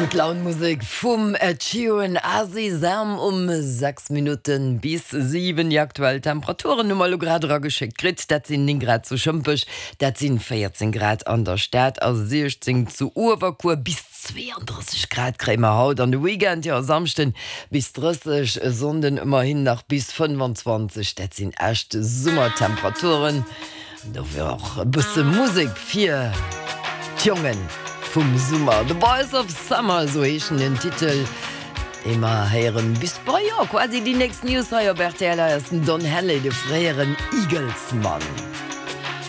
Gutt Laun Musek vum Ed Sheeran a Sesam um 6 Minutten bis 7. Déi aktuell Temperaturen hu mer elo grad erageschéckt kritt. Dat sinn 9 Grad zu Schëmpech, dat sinn 14 Grad an der Stad a 16 zu Uewerkuer. Bis 32 Grad kréie mer haut an de Weekend, jo e Samschden bis 30, e Sonnden ëmmerhin nach bis 25. Dat sinn echt Summertemperaturen. An dofir och e bësse Musek fir d'Jonge vum Summer. The Boys of Summer, esou heeschen den Titel, dee mer héieren bis bei, jo, quasi déi nächst News hei op rtl. Hei ass den Don Henley, de fréieren Eagles-Mann.